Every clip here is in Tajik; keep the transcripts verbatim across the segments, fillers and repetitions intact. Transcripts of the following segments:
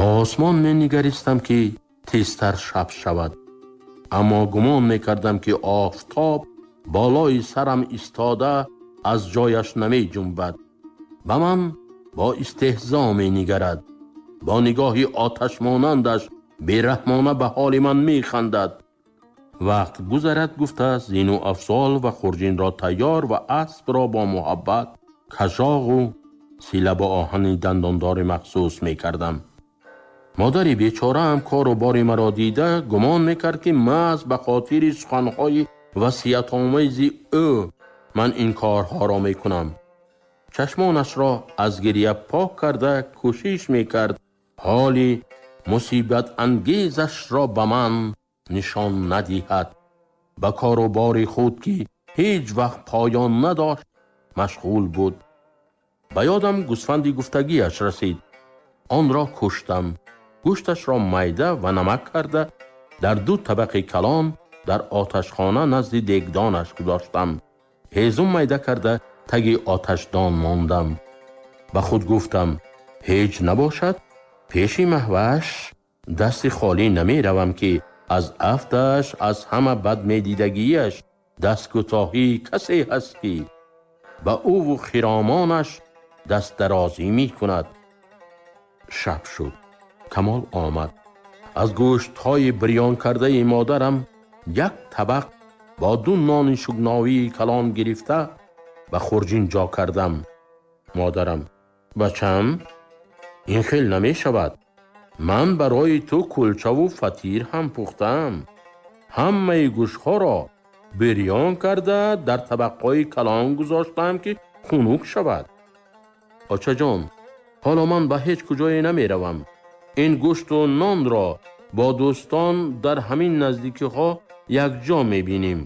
Ба осмон менигаристам, ки тезтар шаб шавад. Аммо гумон мекардам, ки офтоб болои сарам истода аз ҷояш намеҷунбад. Ба ман бо истеҳзо менигарад. Бо нигоҳи оташмонандаш бераҳмона ба ҳоли ман механдад. Вақт гузарад гуфта зину афзол ва хурҷинро тайёр ва аспро бо муҳаббат кашоғу сила бо оҳани дандондори махсус мекардам. Модари бечораам кору бори маро дида гумон мекард, ки маҳз ба хотири суханҳои васиятомези ӯ ман ин корҳоро мекунам. Чашмонашро аз гиря пок карда кӯшиш мекард ҳоли мусибатангезашро ба ман нишон надиҳад. Ба кору бори худ, ки ҳеҷ вақт поён надошт, машғул буд. Ба ёдам гӯсфанди гуфтагиаш расид. Онро куштам. Гӯшташро майда ва намак карда дар ду табақи калон дар оташхона назди дегдонаш гузоштам. Ҳезум майда карда таги оташдон мондам. Ба худ гуфтам, ҳеҷ набошад, пеши Маҳваш дасти холӣ намеравам, ки аз афташ, аз ҳама бадмедидагиаш дасткӯтоҳии касе ҳаст, ки ба ӯву хиромонаш дастдарозӣ мекунад. Шаб шуд. Камол омад. Аз гӯштҳои бирён кардаи модарам як табақ бо ду нони шугновии калон гирифта ба хурҷин ҷо кардам. Модарам: бачам, ин хел намешавад. Ман барои ту кулчаву фатир ҳам пухтаам. Ҳамаи гӯштҳоро бирён карда дар табақҳои калон гузоштаам, ки хунук шавад. Очаҷон, ҳоло ман ба ҳеҷ куҷое намеравам. Ин гӯшту нонро бо дӯстон дар ҳамин наздикиҳо якҷо мебинем.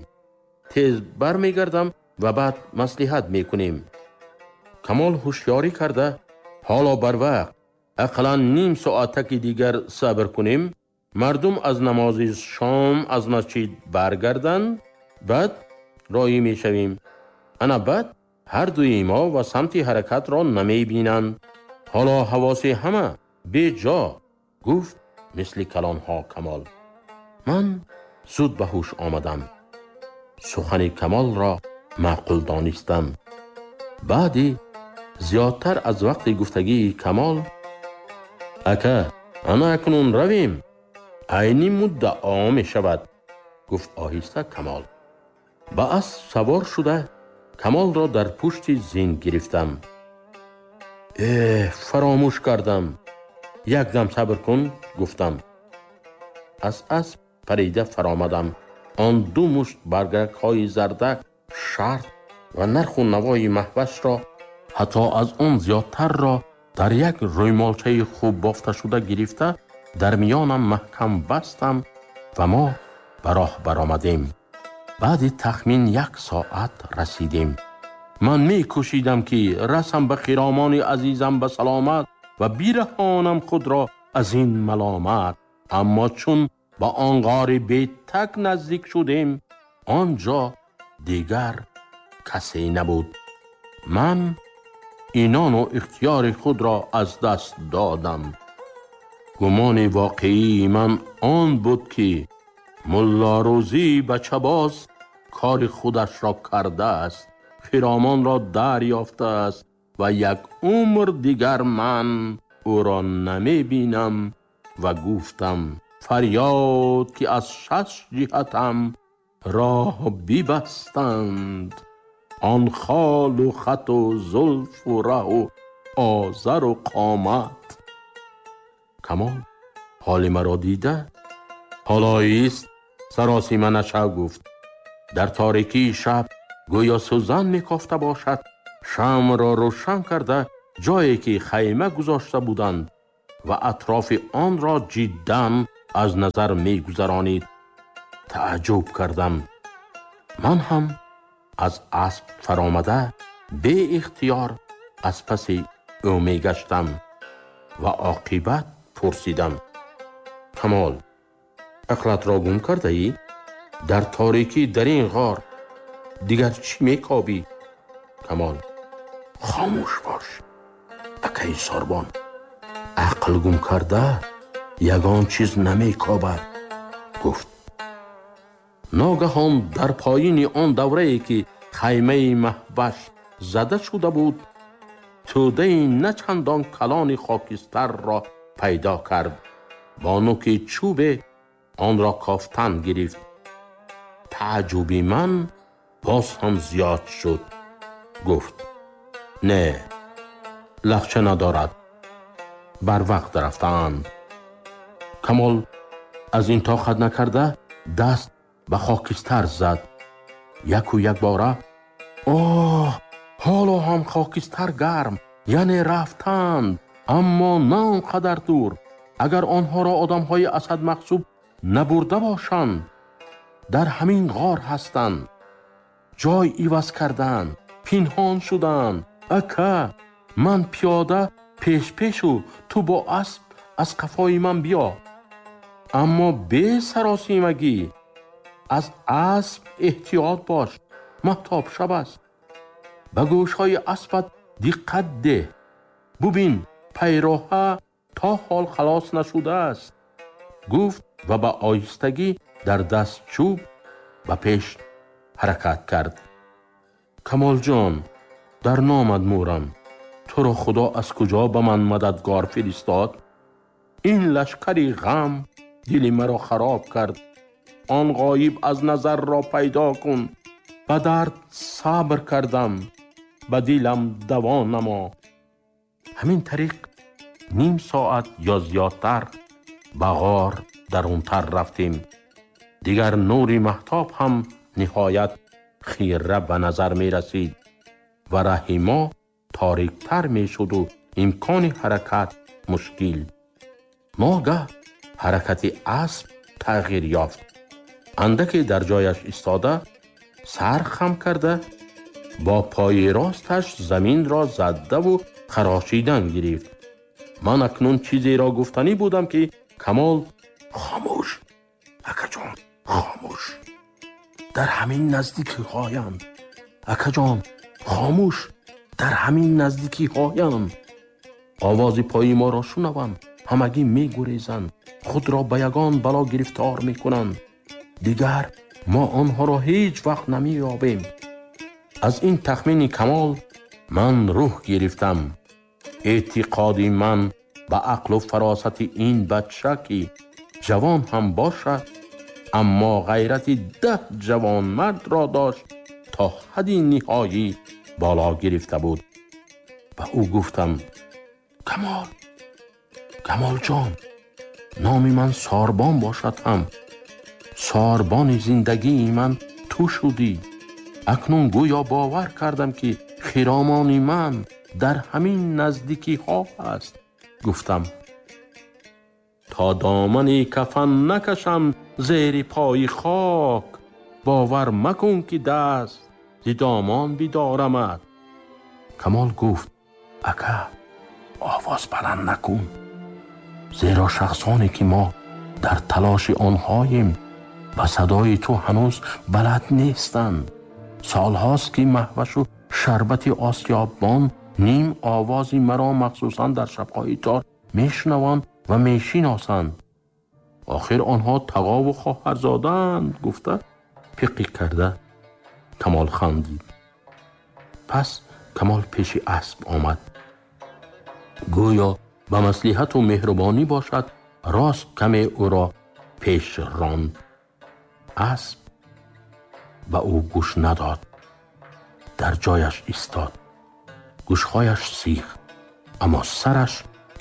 Тез бармегардам ва баъд маслиҳат мекунем. Камол ҳушёрӣ карда, ҳоло барвақт, ақаллан ним соатаки дигар сабр кунем, мардум аз намози шом аз масҷид баргарданд, баъд роҳӣ мешавем. Ана баъд ҳар дуи мо ва самти ҳаракатро намебинанд. Ҳоло ҳавоси ҳама беҷо, гуфт мисли калонҳо Камол. Ман зуд ба ҳуш омадам. Сухани Камолро маъқул донистам. Баъди зиёдтар аз вақти гуфтагии Камол: ака, ана акнун равем, айни муддао мешавад, гуфт оҳиста Камол. Ба асп савор шуда Камолро дар пушти зин гирифтам. Э, фаромӯш кардам. Якдам сабр кун, гуфтам. Аз асп парида фаромадам. Он ду мушт баргакҳои зардак, шарт ва нарху навои Маҳвашро, ҳатто аз он зиёдтарро дар як рӯймолчаи хуб бофташуда гирифта дар миёнам маҳкам бастам ва мо ба роҳ баромадем. Баъди тахмин як соат расидем. Ман мекӯшидам, ки расам ба хиромони азизам ба саломат ва бираҳонам худро аз ин маломат. Аммо чун ба он ғори бетак наздик шудем, он ҷо дигар касе набуд. Ман инону ихтиёри худро аз даст додам. Гумони воқеии ман он буд, ки Муллорӯзӣ бачабоз кори худашро кардааст, хиромонро дарёфтааст ва як умр дигар ман ӯро намебинам. Ва гуфтам фарёд, ки аз шаш ҷиҳатам роҳ бибастанд. Он холу хату зулфу раҳу озару қомат. Камол ҳоли маро дида, ҳоло ист, саросима нашав, гуфт. Дар торикии шаб гӯё сӯзан мекофта бошад, шамъро рӯшан карда ҷое ки хайма гузошта буданд ва атрофи онро ҷиддан аз назар мегузаронид. Тааҷҷуб кардам. Ман ҳам аз асп фаромада беихтиёр аз паси ӯ мегаштам ва оқибат пурсидам: Камол, ақлатро гум кардаӣ? Дар торикӣ дар ин ғор дигар чӣ мекобӣ? Камол: хомӯш бош, акаи сорбон. Ақл гум карда ягон чиз намекобад, гуфт. Ногаҳон дар поёни он даврае ки хаймаи Маҳваш зада шуда буд, тӯдаи на чандон калони хокистарро пайдо кард. Бо нӯки чӯбе онро кофтан гирифт. Таъҷуби ман боз ҳам зиёд шуд. Гуфт: не, лахча надорад, бар вақт рафтаанд. Камол аз ин тоқат накарда даст ба хокистар зад. Яку якбора оҳ, ҳоло ҳам хокистар гарм, яъне рафтанд, аммо на он қадар дур. Агар онҳоро одамҳои Асад Мақсуб набурда бошанд, дар ҳамин ғор ҳастанд. Ҷой иваз карданд, пинҳон шуданд. Ака, ман пиёда пеш-пешу ту бо асп аз қафои ман биё. Аммо бесаросимагӣ, аз асп эҳтиёт бош, маҳтоб шаб аст. Ба гӯшҳои аспат диққат деҳ. Бубин, пайроҳа то ҳол халос нашудааст. Гуфт ва ба оҳистагӣ дар даст чӯб ба пеш ҳаракат кард. Камолҷон, дар номат мурам, туро Худо аз куҷо ба ман мададгор фиристод? Ин лашкари ғам дили маро хароб кард. Он ғоиб аз назарро пайдо кун. Ба дард сабр кардам, ба дилам даво намо. Ҳамин тариқ ним соат ё зиёдтар ба ғор дарунтар рафтем. Дигар нури маҳтоб ҳам ниҳоят хира ба назар мерасид ва раҳи мо ториктар мешуду имкони ҳаракат мушкил. Ногаҳ ҳаракати асп тағйир ёфт. Андаке дар ҷояш истода, сар хам карда, бо пои росташ заминро задаву харошидан гирифт. Ман акнун чизеро гуфтанӣ будам ки Камол: хомӯш, акаҷон, хомӯш, дар ҳамин наздикиҳоянд. Акаҷон, хомӯш, дар ҳамин наздикиҳоянд. Овози пои моро шунаванд, ҳамагӣ мегурезанд, худро ба ягон бало гирифтор мекунанд. Дигар мо онҳоро ҳеҷ вақт намеёбем. Аз ин тахмини Камол ман рӯҳ гирифтам. Эътиқоди ман ба ақлу фаросати ин бача ки ҷавон ҳам бошад, аммо ғайрати даҳ ҷавонмардро дошт, то ҳадди ниҳоӣ боло гирифта буд. Ба ӯ гуфтам: Камол, Камолҷон, номи ман Сорбон бошад ҳам, сорбони зиндагии ман ту шудӣ. Акнун гӯё бовар кардам ки хиромони ман дар ҳамин наздикиҳо аст. Гуфтам: то домани кафан накашам зери пои хок, бовар макун ки даст зи домон бидорамад. Камол гуфт: ака, овоз баланд накун, зеро шахсоне ки мо дар талоши онҳоем ба садои ту ҳанӯз балад нестанд. Солҳост ки Маҳвашу шарбати осиёббон ним овози маро махсусан дар шабҳои тор мешунаванд ва мешиносанд. Охир онҳо тағову хоҳарзодаанд. Гуфта пиқӣ карда Камол хандид. Пас Камол пеши асп омад. Гӯё ба маслиҳату меҳрубонӣ бошад, рост каме ӯро пеш ронд. Асп ба ӯ гӯш надод, дар ҷояш истод. Гӯшҳояш сих, аммо сараш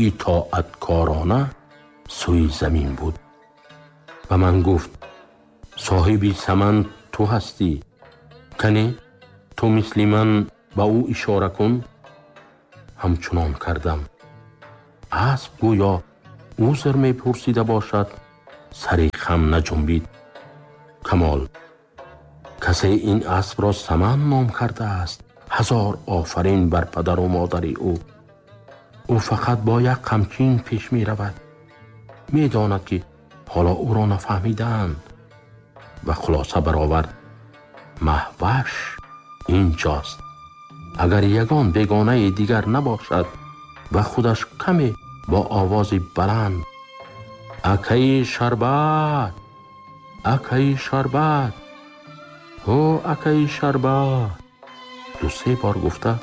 итоаткорона сӯи замин буд. Ба ман гуфт: соҳиби саман ту ҳастӣ, кане ту мисли ман ба ӯ ишора кун. Ҳамчунон кардам. Асп гӯё узр мепурсида бошад, сари хам наҷунбид. Камол: касе ин аспро саман ном кардааст, ҳазор офарин бар падару модари ӯ. Ӯ фақат бо як қамчин пеш меравад. Медонад ки ҳоло ӯро нафаҳмидаанд. Ва хулоса баровард: Маҳваш инҷост. Агар ягон бегонаи дигар набошад ва худаш каме با آوازی بلند اکای شربت، اکای شربت، او اکای شربت دو سه بار گفته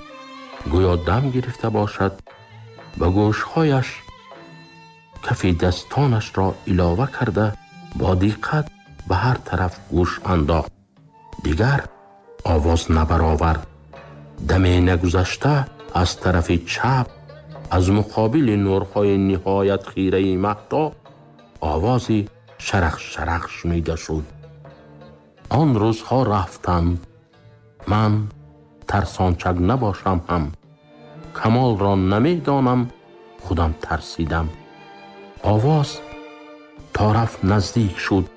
گویا دم گرفته باشد به گوشهایش کف دستانش را علاوه کرده با دقت به هر طرف گوش انداخت. دیگر آواز نبرآورد. دم نگذشته از طرف چپ از مقابل نورهای نهایت خیره مهتاب آوازی شرق شرق شنیده شد. آن روزها رفتند. من ترسانچک نباشم هم کمال را نمیدانم، خودم ترسیدم. آواز تا رفت نزدیک شد.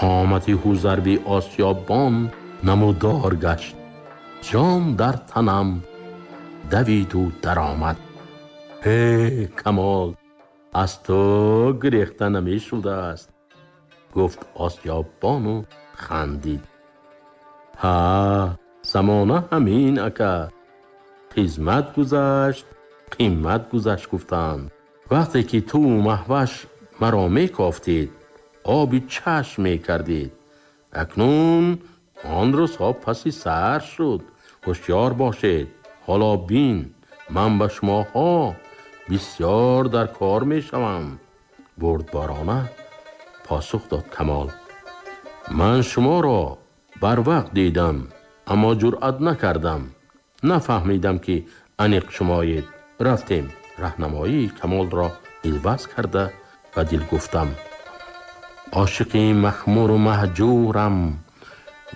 قامت حوزربی آسیابان نمودار گشت. جان در تنم دوید و درآمد. ای کمال، از تو گریخته نمی شده است، گفت آسیابان و خندید. ها، زمانه همین اکا، خدمت گذشت قیمت گذشت گفتند. وقتی که تو و مهوش مرا می کافتید آبی چشم می کردید. اکنون آن روزها پسی سر شد. هوشیار باشید. حالا بین من به شماها بسیار در کار می شوم. بردبارانه پاسخ داد کمال. من شما را بر وقت دیدم اما جرأت نکردم. نفهمیدم که انیق شمایید. رفتیم. راهنمایی کمال را الوز کرده و دل گفتم عاشق مخمور و مهجورم،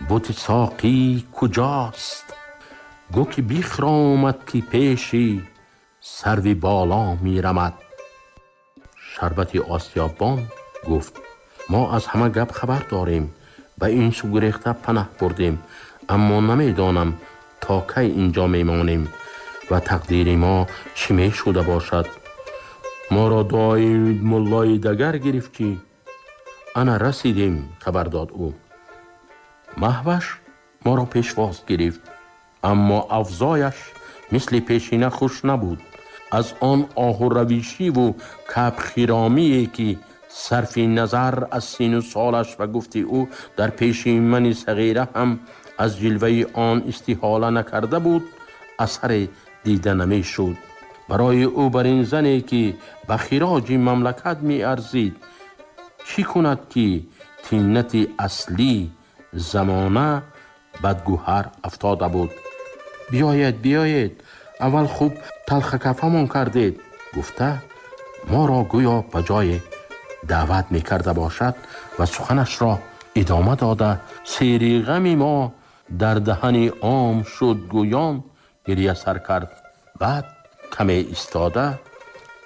بت ساقی کجاست؟ گو که بیخرامد که پیشی سروی بالا میرمد. شربت آسیابان گفت ما از همه گپ خبر داریم، به این سو گریخته پناه بردیم، اما نمیدانم تا کی اینجا میمانیم و تقدیر ما چی می شده باشد. ما را دعای ملای دگر گرفت که انا رسیدیم، خبر داد او. مهوش ما را پیشواز گرفت، اما افزایش مثل پیشینه خوش نبود. از آن آه و رویشی و کپ خیرامی که صرف نظر از سین و سالش و گفتی او در پیش من صغیره هم از جلوه آن استحاله نکرده بود، اثر دیده نمی شد. برای او بر این زنی که به خراج مملکت می ارزید چی کند که تینت اصلی زمانه بدگوهر افتاده بود. بیاید بیاید، اول خوب تلخ کفمان کردید، گفته ما را گویا به جای دعوت می کرده باشد و سخنش را ادامه داده سیری غم ما در دهن عام شد، گویان گریه سر کرد. بعد کمی ایستاده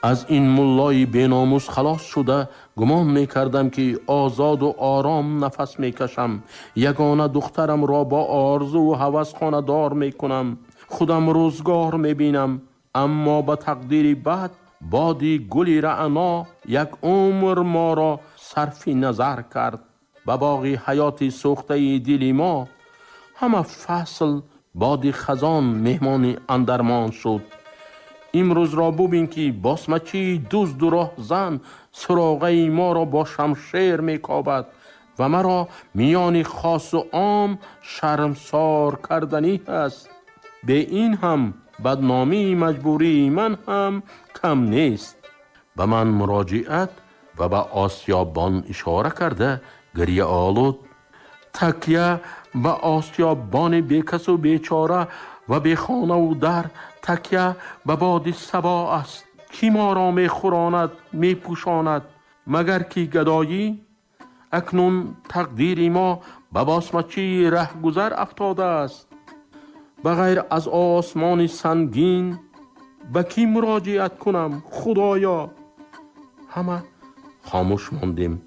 از این ملای بیناموس خلاص شده گمان می کردم که آزاد و آرام نفس می کشم. یگانه دخترم را با آرزو و هوس خانه دار می کنم، خودم روزگار می بینم. اما به تقدیر بد بادی گلی رعنا یک عمر ما را صرف نظر کرد. به باغ حیات سوخته دل ما همه فصل بادی خزان مهمان اندرمان شد. امروز را ببین که باسمچی دزد و راهزن سراغه ما را با شمشیر میکابد و مرا میان خاص و عام شرمسار کردنی است. به این هم بدنامی مجبوری من هم کم نیست. به من مراجعت و به آسیابان اشاره کرده گریه آلود. تکیه به آسیابان بیکس و بیچاره و به خانه و در، تکیه به باد صبا است. کی ما را می خوراند می پوشاند مگر کی گدایی؟ اکنون تقدیر ما به باسمچی رهگذر افتاده است. بغیر از آسمان سنگین به کی مراجعت کنم خدایا؟ همه خاموش ماندیم.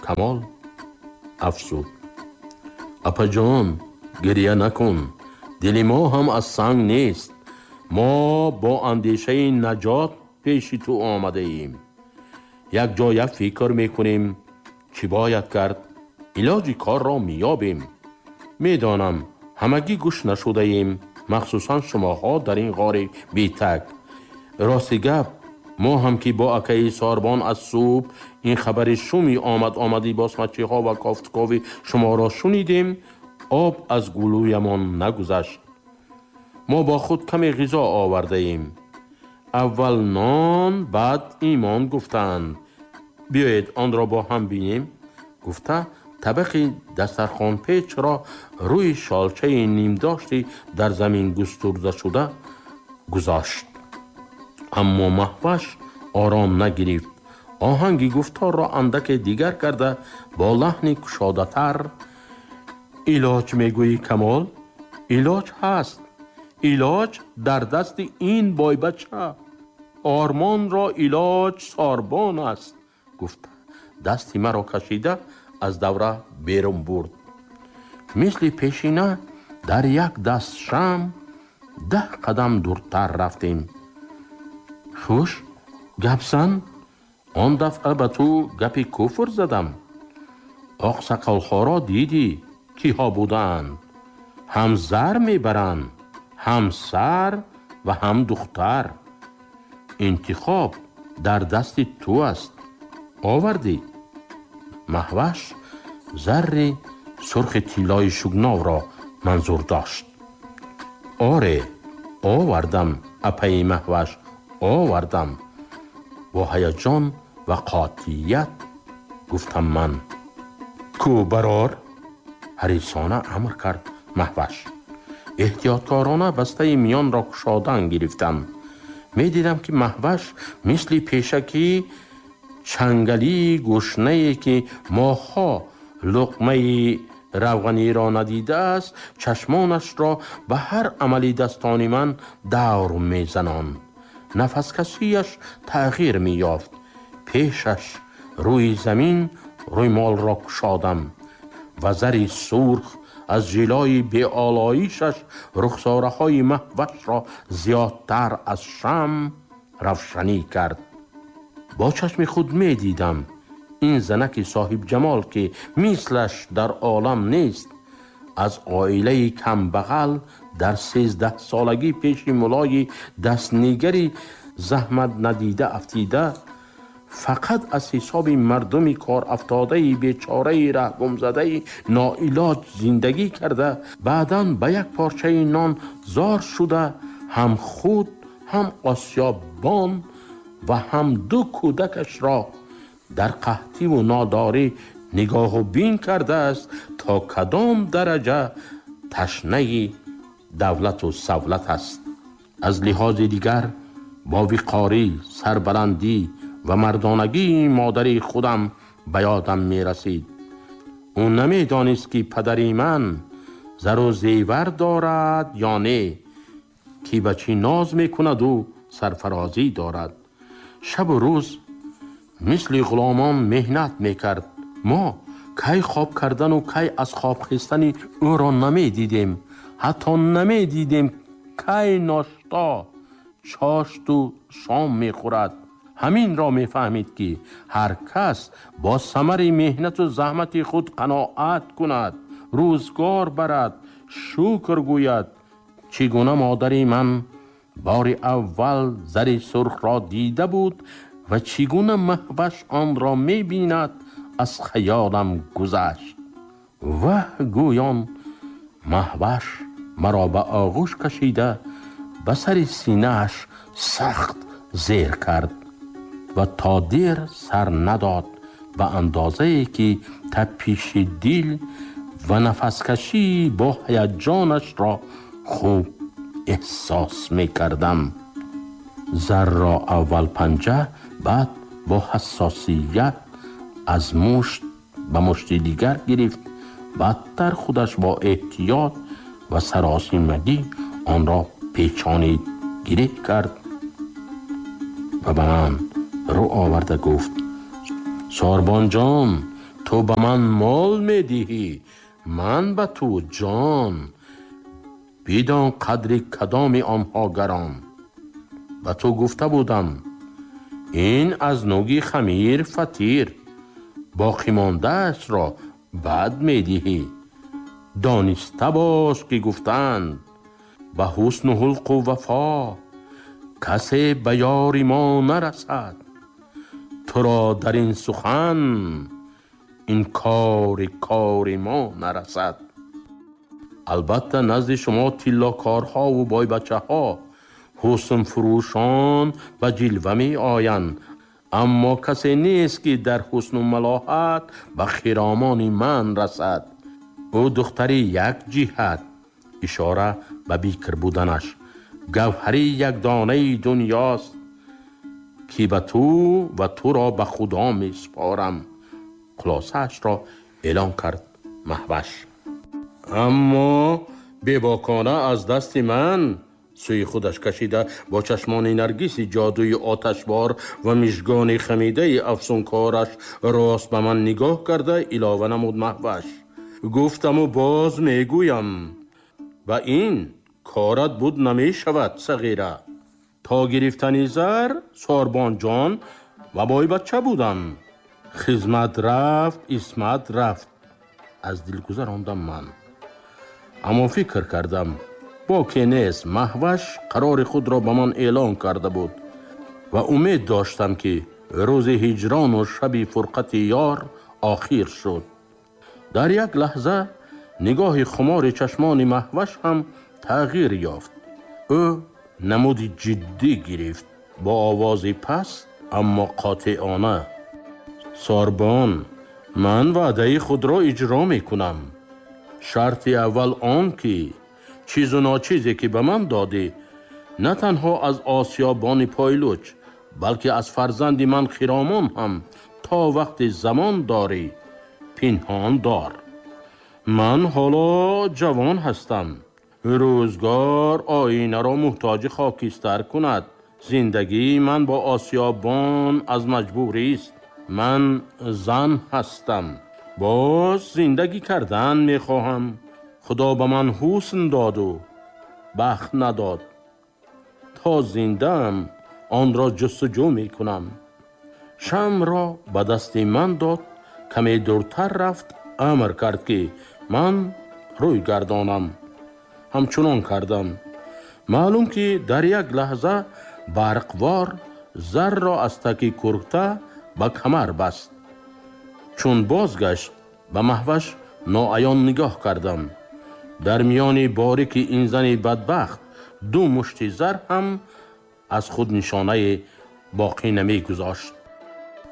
کمال افزود اپا جان گریه نکن، دل ما هم از سنگ نیست. ما با اندیشه نجات پیش تو آمده ایم. یک جای فکر میکنیم چی باید کرد، علاج کار را میابیم. میدانم همگی گوش نشده ایم، مخصوصا شماها در این غار بیتک. راستی گپ Мо ҳам ки бо акаи Сорбон аз субҳ ин хабари шуми омад омади босмачиҳо ва кофтукови шуморо шунидем, об аз гулӯямон нагузашт. Мо бо худ каме ғизо овардаем. Аввал нон, баъд имон гуфтанд. Биёед онро бо ҳам бинем. Гуфта табақи дастархонпечро рӯи шолчаи нимдошти дар замин густурда шуда гузошт. Аммо Маҳваш ором нагирифт. Оҳанги гуфторро андаке дигар карда бо лаҳни кушодатар: илоҷ мегӯӣ Камол? Илоҷ ҳаст. Илоҷ дар дасти ин бойбача. Ормонро илоҷ Сорбон аст. Гуфта дасти маро кашида аз давра берун бурд. Мисли пешина дар як даст шам даҳ қадам дуртар рафтем. Хуш, гап зан. Он дафъа ба ту гапи куфр задам. Оқсақолҳоро дидӣ, киҳо будаанд. Ҳам зар мебаранд, ҳам сар ва ҳам духтар. Интихоб дар дасти ту аст. Овардӣ. Маҳваш зарри сурхи тиллои шугновро манзур дошт. Оре, овардам, апаи Маҳваш, овардам. Бо ҳаяҷон ва қотият гуфтам ман. Ку барор? Ҳарисона амр кард Маҳваш. Эҳтиёткорона бастаи миёнро кушодан гирифтам. Медидам ки Маҳваш мисли пешакӣ чангалии гӯшнае ки моҳҳо луқмаи равғаниро надидааст, чашмонашро ба ҳар амали дастони ман давр мезананд. Нафаскашияш тағйир меёфт. Пешаш рӯи замин рӯймолро кушодам ва зари сурх аз жилои беолоишаш рухсораҳои Маҳвашро зиёдтар аз шам равшанӣ кард. Бо чашми худ медидам ин занаки соҳибҷамол ки мислаш дар олам нест, аз оилаи камбағал дар сездаҳсолагӣ пеши мулои дастнигари заҳмат надида афтида, фақат аз ҳисоби мардуми корафтодаи бечораи раҳгумзадаи ноилоҷ зиндагӣ карда, баъдан ба як порчаи нон зор шуда, ҳам худ, ҳам осиёбон ва ҳам ду кӯдакашро дар қаҳтиву нодорӣ нигоҳу бин кардааст, то кадом дараҷа ташнаи давлату савлат аст. Аз лиҳози дигар бо виқорӣ, сарбаландӣ ва мардонагии модари худам ба ёдам мерасид. Ӯ намедонист ки падари ман зару зевар дорад ё не, ки ба чӣ ноз мекунаду сарфарозӣ дорад. Шабу рӯз мисли ғуломон меҳнат мекард. Мо кай хоб кардану кай аз хоб хестани ӯро намедидем. Ҳатто намедидем кай ношто, чошту шом мехӯрад. Ҳаминро мефаҳмид ки ҳар кас бо самари меҳнату заҳмати худ қаноат кунад, рӯзгор барад, шукр гӯяд. Чӣ гуна модари ман бори аввал зари сурхро дида буд ва чӣ гуна Маҳваш онро мебинад, аз хаёлам гузашт. Ваҳ, гӯён Маҳваш маро ба оғӯш кашида ба сари синааш сахт зер кард ва то дер сар надод, ба андозае ки тапиши дил ва нафаскашӣ бо ҳаяҷонашро хуб эҳсос мекардам. Зарро аввал панҷа, баъд бо ҳассосият аз мушт ба мушти дигар гирифт. Баъдтар худаш бо эҳтиёт ва саросимагӣ онро печонид, гиреҳ кард ва ба ман рӯ оварда гуфт: Сорбонҷон, ту ба ман мол медиҳӣ, ман ба ту ҷон. Бидон қадри кадоми онҳо гарон. Ба ту гуфта будам, ин аз нуги хамир фатир, боқимондаашро баъд медиҳӣ. Дониста бош ки гуфтанд ба ҳусну ҳулқу вафо касе ба ёри мо нарасад. Туро дар ин сухан ин кори кори мо нарасад. Албатта назди шумо тиллокорҳо ва бойбачаҳо, ҳусн фурӯшон ба ҷилва меоянд, аммо касе нест ки дар ҳусну малоҳат ба хиромони ман расад. Ӯ духтари як ҷиҳат, ишора ба бикр буданаш, гавҳари якдонаи дунёст ки ба ту ва туро ба Худо месупорам. Хулосаашро эълон кард Маҳваш. Аммо бебокона аз дасти ман сӯи худаш кашида бо чашмони наргиси ҷодуи оташбор ва мижгони хамидаи афсункораш рост ба ман нигоҳ карда илова намуд Маҳваш. Гуфтаму боз мегӯям, ба ин корат буд намешавад сағира. То гирифтани зар сорбонҷон ва бойбача будам. Хизмат рафт, исмат рафт. Аз дил гузарондам ман. Аммо фикр кардам, боке нест, Маҳваш қарори худро ба ман эълон карда буд ва умед доштам ки рӯзи ҳиҷрону шаби фурқати ёр охир шуд. Дар як лаҳза нигоҳи хумори чашмони Маҳваш ҳам тағйир ёфт. Ӯ намуди ҷиддӣ гирифт, бо овози паст аммо қотеона: сорбон, ман ваъдаи худро иҷро мекунам. Шарти аввал он ки чизу ночизе ки ба ман додӣ на танҳо аз осиёбони пойлуч, балки аз фарзанди ман Хиромон ҳам то вақти замон дорӣ пинҳон дор. Ман ҳоло ҷавон ҳастам. Рӯзгор оинаро муҳтоҷи хокистар кунад. Зиндагии ман бо осиёбон аз маҷбурист. Ман зан ҳастам. Боз зиндагӣ кардан мехоҳам. Худо ба ман ҳусн доду бахт надод. То зиндаам онро ҷустуҷӯ мекунам. Шамъро ба дасти ман дод, каме дуртар рафт, амр кард ки ман рӯй гардонам. Ҳамчунон кардам. Маълум ки дар як лаҳза барқвор зарро аз таки курта ба камар баст. Чун бозгашт ба Маҳваш ноаён нигоҳ кардам. Дар миёни борики ин зани бадбахт ду мушти зар ҳам аз худ нишонае боқӣ намегузошт.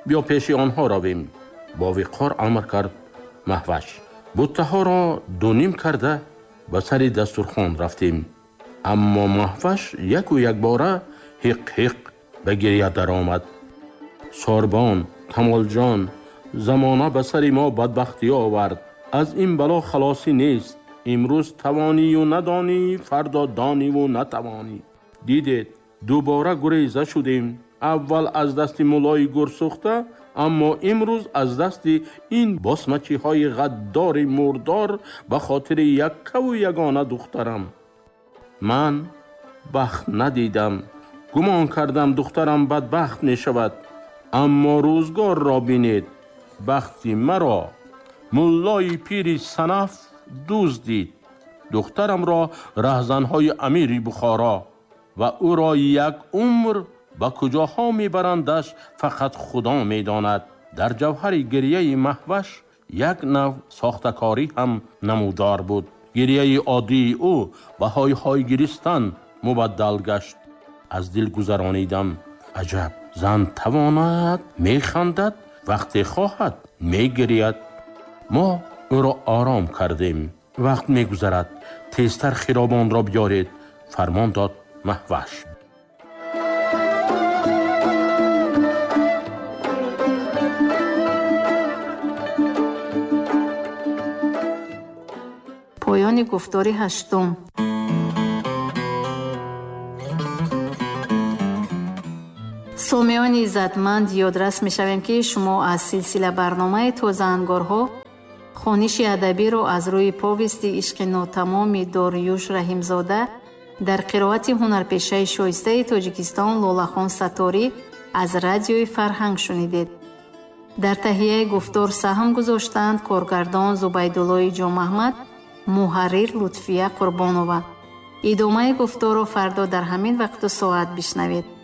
Биё пеши онҳо равем, бо виқор амр кард Маҳваш. Буттаҳоро дуним карда ба сари дастурхон рафтем. Аммо Маҳваш яку якбора ҳиқ-ҳиқ ба гиря даромад. Сорбон, Камолҷон, замона ба сари мо бадбахтӣ овард. Аз ин бало халосӣ нест. Имрӯз тавонию надонӣ, фардо дониву натавонӣ. Дидед, дубора гуреза шудем. Аввал аз дасти муллои гурсӯхта, аммо имрӯз аз дасти ин босмачиҳои ғаддори мурдор ба хотири яккаву ягона духтарам. Ман бахт надидам. Гумон кардам духтарам бадбахт мешавад. Аммо рӯзгорро бинед, бахти маро муллои пири санаф дуздид. Духтарамро раҳзанҳои амири Бухоро ва ӯро як умр ба куҷоҳо мебарандаш фақат Худо медонад. Дар ҷавҳари гирияи Маҳваш як нав сохтакорӣ ҳам намудор буд. Гирияи оддии ӯ ба ҳой-ҳой гиристан мубаддал гашт. Аз дил гузаронидам: аҷаб, зан тавонад механдад, вақте хоҳад мегирияд. Мо ӯро ором кардем. Вақт мегузарад, тезтар хиробонро биёред, фармон дод Маҳваш. Поёни гуфтори ҳаштум. Сомиёни иззатманд, ёдрас мешавем ки шумо аз силсила барномаи тозаангорҳо хониши адабиро аз рӯи повести ишқи нотамоми Дориюш Раҳимзода дар қироати ҳунарпешаи шоистаи Тоҷикистон Лолахон Сатторӣ аз радиои Фарҳанг шунидед. Дар таҳияи гуфтор саҳм гузоштанд коргардон Зубайдуллои Ҷомаҳмад, муҳаррир Лутфия Қурбонова. Идомаи гуфторро фардо дар ҳамин вақту соат бишнавед.